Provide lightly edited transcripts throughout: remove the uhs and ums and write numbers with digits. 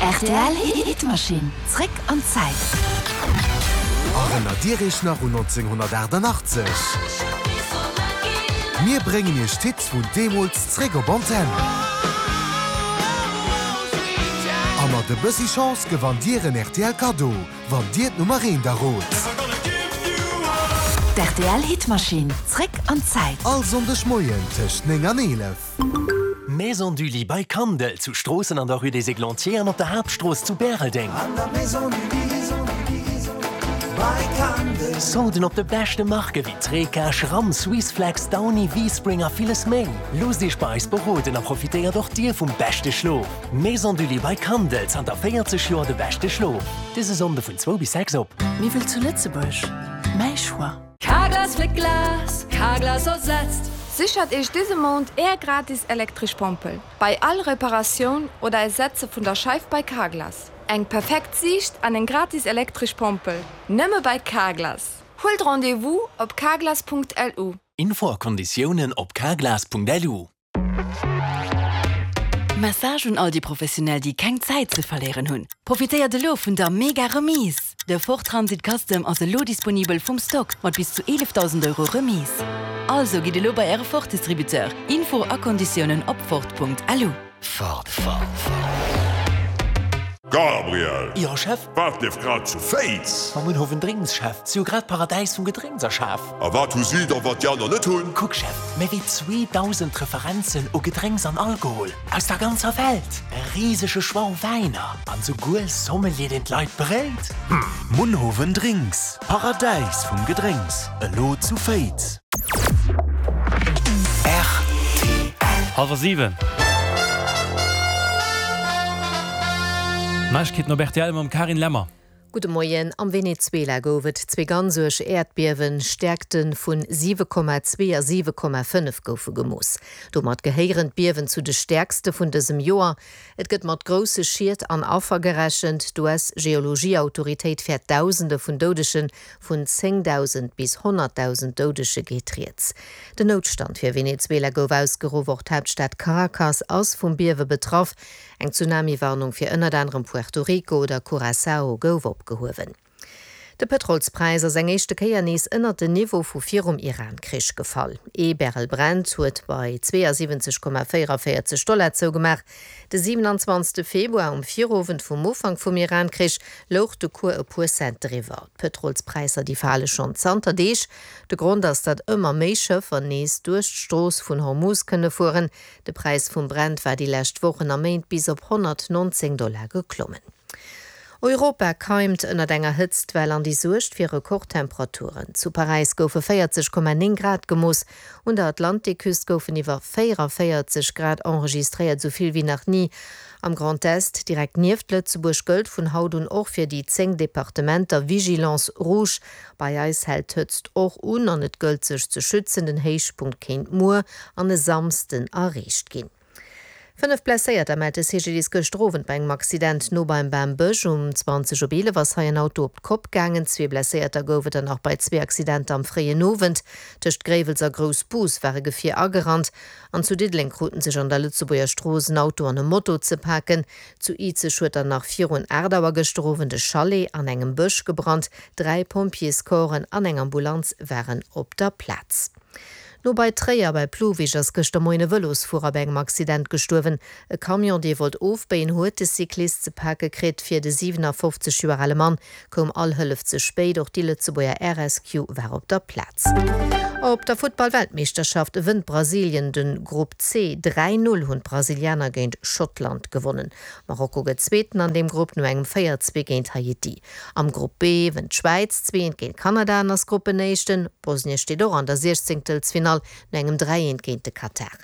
Rtl Hitmaschinn, zréck an d'Zäit. Erënnert Dir Iech nach un 1988? Mir bréngen Iech d'Hits vun deemools zréck op Antenn. A mat e bëssi Chance gewannt Dir en rtl Kaddo, wann Dir d'Nummer eent errot. D'RTL Hitmaschinn, zréck an d'Zäit. All Sonndeg Moien tëscht 9 an 11. Maison du Lit bei Kandel, zu Stroossen an der Rue des Églantiers an op der Haaptstrooss zu Bäreldeng. Solden op de beschte Marke wéi Treca, Schramm, Swissflex, Downy, V-Spring a villes méi. Loosst Iech bei eis beroden a profitéiert och Dir vum beschte Schlof. Maison du Lit bei Kandel, zanter 40 Joer de beschte Schlof. Dëse Sonnde vun zwou bis 6 op. Miwwel zu Lëtzebuerg, mäi Choix. Carglass fléckt Glas, Carglass ersetzt. Sichert Iech dëse Mount Är gratis elektresch Pompel bei all Reparatioun oder Ersetze vun der Scheif bei Carglass. Eng perfekt Siicht an eng gratis elektresch Pompel, nëmme bei Carglass! Huelt Rendez-vous op carglass.lu. Info a Konditiounen op carglass.lu. Message un all déi Professionell, déi keng Zäit ze verléieren hunn, Profitéiert elo vun der mega Remise! De Ford Transit Custom ass elo disponibel vum Stock mat bis zu 11.000 Euro Remise. Also gitt elo bei äre Ford Distributeur. Info a Konditiounen op Ford.lu. Ford. Gabriel! Jo, Chef? Wat lieft grad zu Féiz? Mam Munhowen Drinks, Chef. Si hu grad d'Paradäis vum Gedrénks erschaf. A wat hu si da, wat déi aner net hunn? Kuck, Chef, méi wéi 2.000 Referenzen u Gedrénks an Alkohol aus der ganzer Welt, e risege Choix u Wäiner an souguer Sommelier, deen d'Leit beréit. Munhowen Drinks, Paradäis vum Gedrénks, elo zu Féiz. Rtl. Hallwer 7. Neiegkeeten op rtl mam Carine Lemmer. Gudde Moien. Am Venezuela gouf et zwee ganz uerg Äerdbiewen. Stäerkte vun 7,2 a 7,5 goufe gemooss. Domat gehéieren d'Biewen zu de stäerkste vun dësem Joer. Et gëtt mat grousse Schied an Affer gerechent. D'US-Geologieautoritéit fäert Dausende vun Doudegen, vun 10.000 bis 100.000 Doudege geet rieds. Den Noutstand fir Venezuela gouf ausgeruff. Och d'Haaptstad Caracas ass vum Biewe betraff. Eng Tsunami-Warnung fir ënnert anerem Puerto Rico oder Curaçao gouf opgehuewen. De Pëtrolspräis ass eng éischte Kéier nees ënnert den Niveau vu virum Iran-Krich gefall. Ee Barrel Brent huet bei 72,44 Dollar zougemaach. De 27 Februar, um Virowend vum Ufank vum Iran-Krich, louch de Cours e puer Cent driwwer. D'Pëtrolspräisser, déi fale schonn zanter Deeg. De Grond ass, datt ëmmer méi Schëffer nees duerch d'Strooss vun Hormuz kënne fueren. De Präis vum Brent war déi lescht Wochen a Méint bis op 119 Dollar geklommen. Europa keimt ënnert enger Hëtztwell an déi suergt fir Rekordtemperaturen. Zu Paräis goufe 40,9 Grad gemooss, un der Atlantikküst goufen iwwer 44 Grad enregistréiert, esou vill wéi nach ni. Am Grand Est, direkt nieft Lëtzebuerg, gëllt vun haut un och fir déi 10 Departementer Vigilance rouge. Bei eis hält d'Hëtzt och un an et gëllt sech ze schützen. Den Héichpunkt kéint muer an e Samsden erreecht ginn. 5 Blesséierter mellt de CGDIS gëschter Owend bei engem Accident no beim Bambësch. Um 20 op 11 ass hei en Auto op d'Kopp gaangen. Zwee Blesséierter gouf et dann nach bei zwee Accidenter am fréien Owend. Tëscht Gréiwels a Groussbus war e Gefier agerannt an zu Diddeleng kruten sech an der Lëtzebuerger Strooss en Auto an e Moto ze paken. Zu Izeg huet dann nach virun 8 Auer gëschter Owend e Chalet an engem Bësch gebrannt. Dräi Pompjeescorpsen an eng Ambulanz waren op der Plaz. No bei Tréier bei Plouwig ass gëschter Moien e Vëlosfuerer bei engem Accident gestuerwen. E Camion, dee wollt ofbéien, huet de Cyclist ze pake kritt. Fir de 57 Joer ale Mann koum all Hëllef ze spéit. Och déi Lëtzebuerger RSQ war op der Plaz. Op der Futtball-Weltmeeschterschaft wënnt Brasilien de Grupp C. 3, 0 hunn d'Brasilianer géint Schottland gewonnen. Marokko gëtt Zweeten an deem Grupp no engem 4, 2 géint Haiti. Am Grupp B wënnt d'Schwäiz 2, 1 géint Kanada an ass Gruppenéischten. Bosnien steet och an der Siechzéngtelsfinall no engem 3, 1 géint de Katar.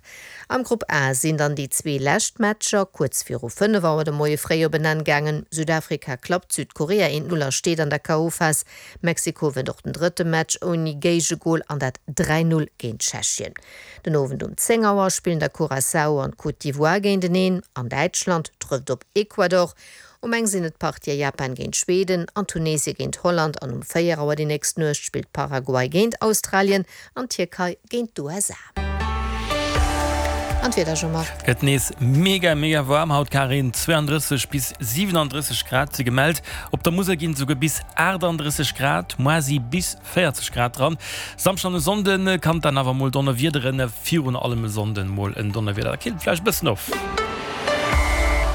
Am Grupp A sinn dann déi zwee lescht Matcher kuerz viru 5 Auer de Moie fréi op en Enn gaangen. Südafrika klappt Südkorea 1, 0 a steet an der KO-Phas. Mexiko wënnt och den drëtte Match ouni Géigegol an dat 3, 0 géint Tschechien. Den Owend um 10 Auer spillen da Curaçao an d'Côte d'Ivoire géinteneen an Däitschland trëfft op Ecuador. Um eng sinn et d'Partië Japan géint Schweden an Tunesie géint Holland an um 4 Auer déi nächst Nuecht spillt Paraguay géint Australien an d'Tierkei géint d'USA. An d'Wieder, Jean-Marc? Gëtt nees mega mega waarm haut, Karin, 32 bis 37 Grad si gemellt. Op der Musel ginn et esouguer bis 38 Grad, moar si bis 40 Grad dran. Samschden an e Sonnde kann et dann awer mol donnerwiederen, virun allem e Sonnden mol en Donnerwieder, da killt et vläicht e bëssen of.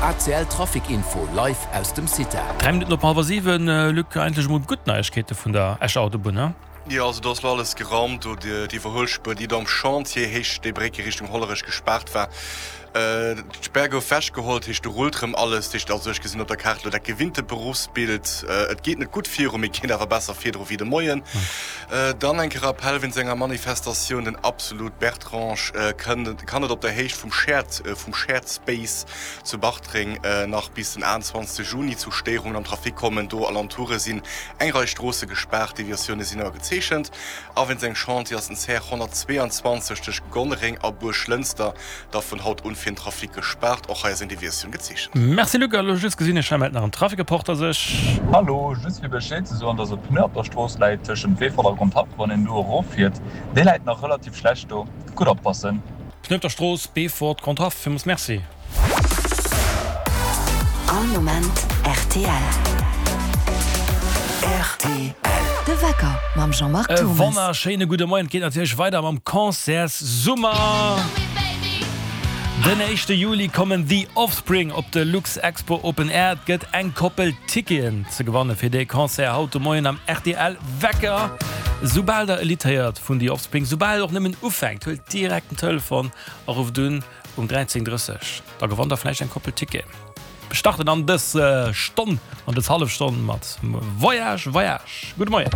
ACL Trafic Info live aus dem CITA. 3 Minutten op hallwer 7, Luc, eigentlech emol gutt Neiegkeete vun der Escher Autobunn, he? Jo, also do ass lo alles geraumt, do d'Iwwerhuelspuer, déi do am Chantier Héicht Steebrécke Richtung Hollerech gespaart war. D'Spär gouf wechgeholl, heescht do rullt rëm alles. Heescht also, ech gesinn op der Kaart lo dat gewinnte Beruffsbild. Et geet net gutt viru, mee geet awer besser virdru wéi de Moien. Dann enke Rappell wéinst enger Manifestatioun, den Absolut Bertrange kënn kann et op der Héicht vum Shared vum Shared Space zu Bartreng nach bis den 28 Juni zu Stéierungen am Trafic kommen. Do Alentoure sinn Eng Rei Stroosse gespaart, Deviatioune sinn awer gezeechent. A wéinst engem Chantier ass den CR 122 tëscht Gonnereng a Buerglënster da vun haut un fir den Trafic gespaart. Och hei ass eng Deviatioun gezeechent. Merci Luc, a lo just gesinn, ech mellt nach en Traficreporter sech. Hallo, just fir Bescheed ze soen, dass e Pneu op der Strooss läit tëschent Beefort a Grondhaff, wann een do erof fiert. Dee läit nach relativ schlecht do, gutt oppassen. Pneu op der Strooss, Beefort, Grondhaff, villmools Merci. All Moment rtl. Rtl. De Wecker mam Jean-Marc E Thommes. wonnerschéine gudde Moien. Et geet natierlech weider mam Concertssummer. Den éischte Juli kommen The Offspring op de Luxexpo Open Air. Et gëtt eng Koppel Ticketen ze gewanne fir dee Concert haut de Moien am rtl Wecker. Soubal der e Lidd héiert vun The Offspring, soubal et och nëmmen ufänkt, huelt direkt den Telefon a rufft un. Um 13:30 da gewannt der vläicht eng Koppel Ticketen. Mir starten an dës Stonn, an dës hallef Stonn mat Voyage Voyage. Gudde Moien.